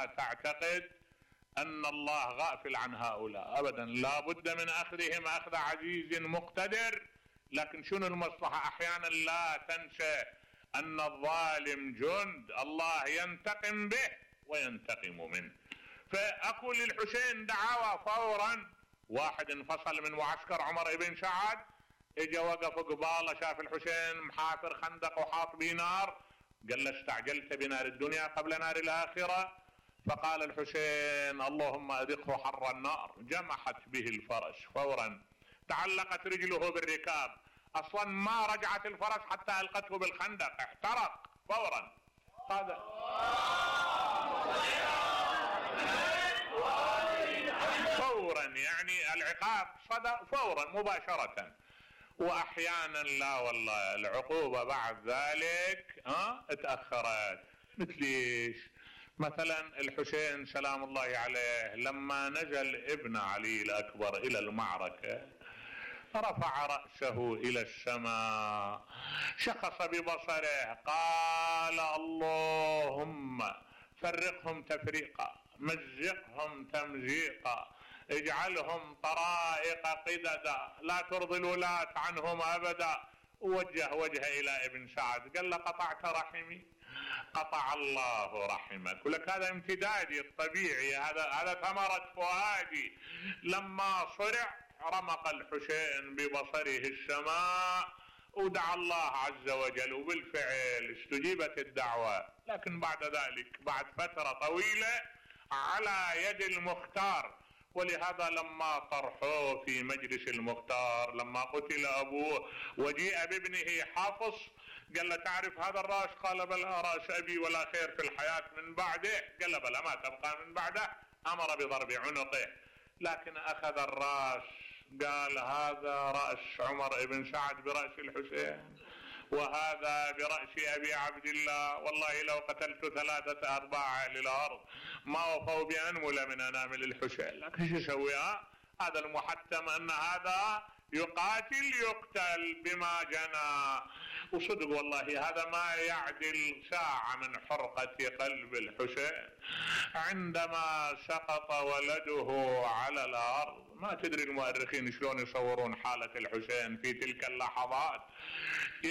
لا تعتقد أن الله غافل عن هؤلاء أبدا، لا بد من أخذهم أخذ عزيز مقتدر. لكن شنو المصلحة؟ أحيانا لا تنسى أن الظالم جند الله ينتقم به وينتقم منه. فأكو للحسين دعوة فورا. واحد انفصل من معسكر عمر بن سعد، اجا وقف قباله، شاف الحسين محافر خندق وحاط بيه نار، قال له استعجلت بنار الدنيا قبل نار الآخرة؟ فقال الحسين اللهم أذقه حر النار. جمحت به الفرس فورا، تعلقت رجله بالركاب، أصلا ما رجعت الفرس حتى ألقته بالخندق، احترق فورا. هذا فورا، يعني العقاب صدر فورا مباشرة. واحيانا لا والله العقوبة بعد ذلك اتأخرت. مثليش مثلا الحسين سلام الله عليه لما نزل ابن علي الأكبر إلى المعركة رفع رأسه إلى السماء، شخص ببصره، قال اللهم فرقهم تفريقا، مزقهم تمزيقا، اجعلهم طرائق قددا، لا ترضي الولاة عنهم أبدا. ووجه وجهه إلى ابن سعد، قال له قطعت رحمي، قطع الله رحمك. ولك هذا امتدادي الطبيعي، هذا ثمرة فؤادي. لما صرع رمق الحسين ببصره السماء ودعا الله عز وجل، وبالفعل استجيبت الدعوة. لكن بعد ذلك بعد فترة طويلة على يد المختار. ولهذا لما طرحوه في مجلس المختار، لما قتل أبوه وجيء بابنه حافص، قال له تعرف هذا الراس؟ قال بلى، راس أبي ولا خير في الحياة من بعده. قال بلى، ما تبقى من بعده. أمر بضرب عنقه، لكن أخذ الراس، قال هذا رأس عمر بن سعد برأس الحسين، وهذا برأس أبي عبد الله. والله لو قتلت 3/4 للأرض ما وفوا بأنمل من أنامل الحسين. لكن شو يسوي؟ هذا المحتم أن هذا يقاتل يقتل بما جنى. وصدق والله هذا ما يعدل ساعة من حرقة قلب الحسين عندما سقط ولده على الأرض. ما تدري المؤرخين شلون يصورون حالة الحسين في تلك اللحظات.